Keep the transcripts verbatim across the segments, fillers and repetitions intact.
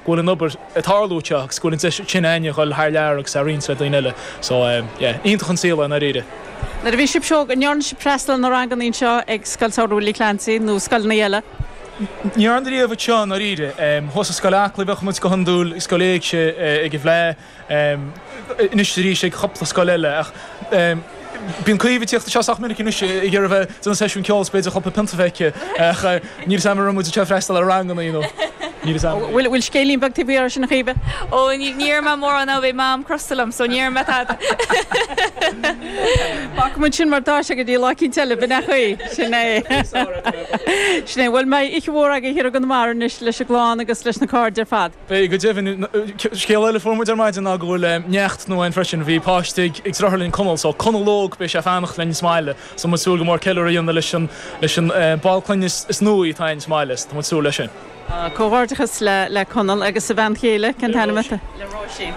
go bhfuil an obair ag tarlú anseo agus go bhfuil an deis sin againne a dhul thar lear agus a roinnt le daoine eile. So um, yeah, iontach an saol é i ndáiríre. Nuair a bhí sibh óg an ndearna sibh freastal ar na ranganna anseo ag Scoil Samhraidh Willie Clancy nó scoileanna eile. Ní an riamh seo i ndáiríre, thuas i Scoil Acla bheadh muid go hiondúil Scoil Éigse ag an bhFleadh anois arís ag cúpla scoil eile ach Bíonn Caoimhe ag tíocht anseo sách minic anois ag iarraidh bheith déanamh seisiún ceoil is b'fhéidir cúpla pionta a bheith aici ach níl a fhios agam an raibh muid anseo freastal ar ranganna nó níl a fhios agam. Bhfuil bhfuil scéilín beag taobh thiar sin a Chaoimhe? Ó ní raibh mé mórán ná bhí mam crosta liom, so ní raibh mé tada. Fágfaidh muid sin mar tá sé go dtí lá eicínt eile b'in é chaoi sin é. Sin é bhfuil mbeidh oíche mhór agaibh thiar i gConamara anois leis an gclann agus leis na cairde ar fad. Beidh go deimhin scéal eile fuair muid ar maidin ná go bhfuil neacht nua ann freisin bhí páiste ag ag deartháir linn Conall so Conall óg beidh sé ag fanacht linn sa mbaile so muid súil go mór ceiliúradh a dhéanamh leis an leis an ball clainne is nuaí atá ann sa mbaile so tá muid súil leis sin. Comhghairdeachas le le Conall agus a bhean chéile cén t-ainm atá le Róisín.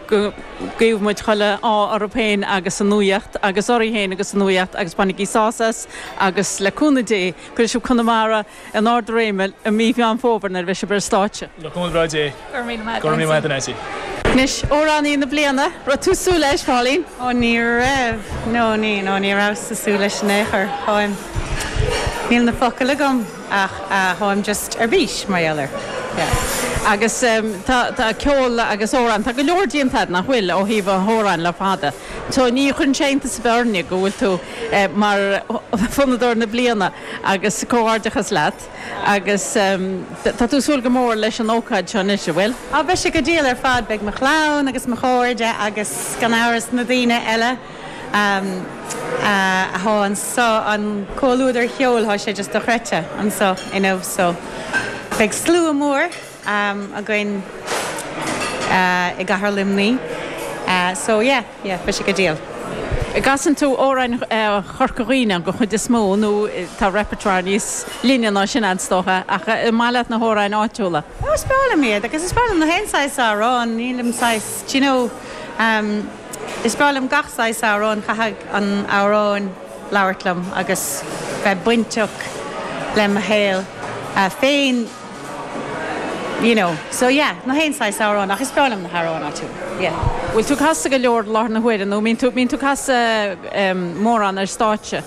Go guífidh muid chuile ádh orthu féin agus a nuaíocht agus oraibh féin agus a nuaíocht agus bainigí sásamh as agus le cúnamh Dé cuirfidh sibh Conamara in ard a réime i mí Mheán Fómhair nuair a bheidh sibh ar an stáitse. Le cúnamh breá Dé. Go raibh míle maith Go raibh míle maith Nancy. Anois amhránaí na bliana, raibh tú súil leis, Pauline? Ó ní raibh, no ní, no ní rabhas ag súil leis in aon chor. Táim, níl na focail agam ach táim just ar bís mar gheall air. Yeah. Agus tá tá ceol agus amhráin, tá go leor déanta agat nach bhfuil ó thaobh an amhráin le fada. So ní chuireann sé iontas ar bith orainne go bhfuil tú mar fonnadóir na bliana agus comhghairdeachas leat agus tá tú súil go mór leis an ócáid seo anois, an bhfuil? Á beidh sé go diail ar fad, beidh mo chlann agus mo chairde agus gan amhras na daoine eile atá anseo an comhluadar cheoil tá sé just dochreidte anseo inniu so beidh slua mór againn i gCathair Luimnigh so yeah yeah beidh sé go diail. Casann tú amhráin Chorca Dhuibhne an chuid is mó nó tá repertoire níos leithne ná sin is dócha ach an maith leat na hamhráin áitiúla. Ó is breá liom iad agus is breá liom na haon saghas amhrán nílim saghas do you know um, is breá liom gach saghas amhrán caithfidh an amhrán labhairt liom agus bheith bainteach le mo shaol uh, féin you know so yeah na haon saghas amhrán ach is breá liom na hamhráin áitiúla yeah. Bhfuil tú casadh go leor láthair na huaire nó mbíonn tú mbíonn tú casadh um, mórán ar stáitse.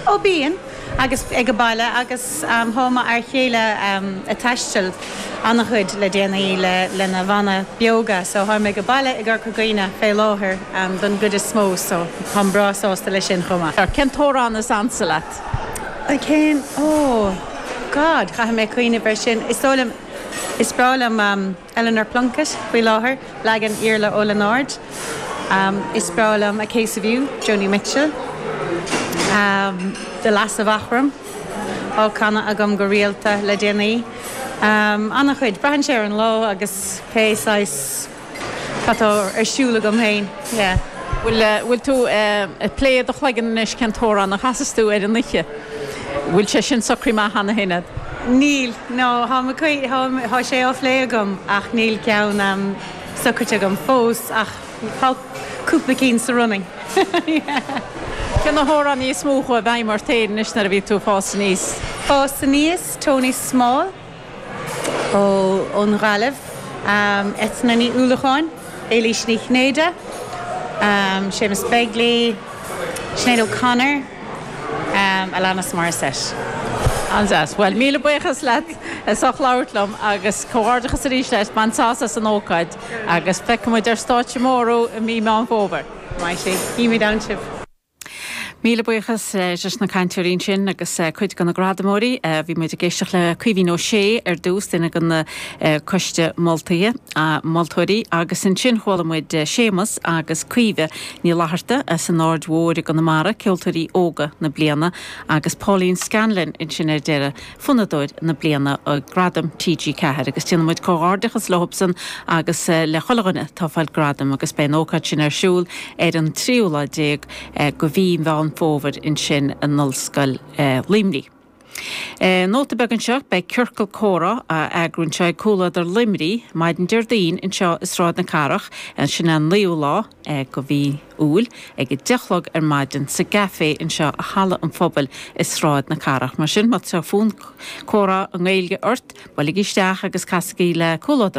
Ó bíonn agus ag an baile agus um, tá m'fhear céile um, ag taisteal an-chuid le déanaí le lena bhanna beoga, so táim ag an baile i gCorca Dhuibhne fé láthair um, don gcuid is mó so táim breá sásta leis sin chomh maith. Cén t-amhrán is ansa leat? Cén ó God caithfidh mé cuimhneamh air sin is dóigh liom is breá liom um, Eleanor Plunkett faoi láthair leagan Iarla Ó Lionáird. Um, is breá liom A Case of You, Joni Mitchell. Um, The Lass of Aughrim á canadh agam go rialta le déanaí. Um, an-chuid braitheann sé ar an lá agus pé saghas atá ar siúl agam féin. Yeah. Bhfuil bhfuil tú ag plé i do chloigeann anois cén t-amhrán a chasas tú ar an oíche. Bhfuil sé sin socraithe amach cheana féin? Níl nó tá sé á phlé agam ach níl ceann um, socraithe agam fós ach tá cúpla cinn sa running. Cé na hamhráin is mó a chuaigh i bhfeidhm ort féin anois nuair a bhí tú fás aníos. Fás aníos Tony Small ó ón Ghaillimh, um, Eithne Ní Uallacháin, Éilís Ní Chinnéide, um, Séamus Begley, Sinéad O'Connor, um, Alanis Morissette. An-deas. Well míle buíochas leat as ucht labhairt liom agus comhghairdeachas arís leis bain sásamh as an ócáid agus feicfimid ar stáitse mór i mí Meán Fómhair. Maith sé, Címid ann sibh. Míle buíochas leis na cainteoirí sin agus cuid de na gradamóirí bhí muid ag éisteacht le Caoimhín Ó Sé ar dtús duine den choiste moltaí moltóirí agus ansin chuala muid Séamus agus Caoimhe Ní Fhlatharta as an Aird Mhór i gConamara ceoltóirí óga na bliana agus Pauline Scanlon ansin ar deireadh fonnadóir na bliana gradam TG Ceathair agus déanann muid comhghairdeachas leosan agus le chuile dhuine atá ag fáil gradam agus beidh an ócáid sin ar siúl ar an tríú lá déag de mhí Mheán Fómhair ansin in Ollscoil Luimnigh. E, Nóta beag anseo beidh ciorcal comhrá á eagrú anseo ag Comhluadar Luimnigh, maidin Déardaoin anseo i Sráid na Cathrach, sin an naoú lá de mhí Iúil ag a deich a chlog ar maidin sa gcafé anseo i Halla an Phobail i Sráid na Cathrach. Mar sin má tá fonn comhrá i nGaeilge ort, buailigí isteach agus casaigí le Comhluadar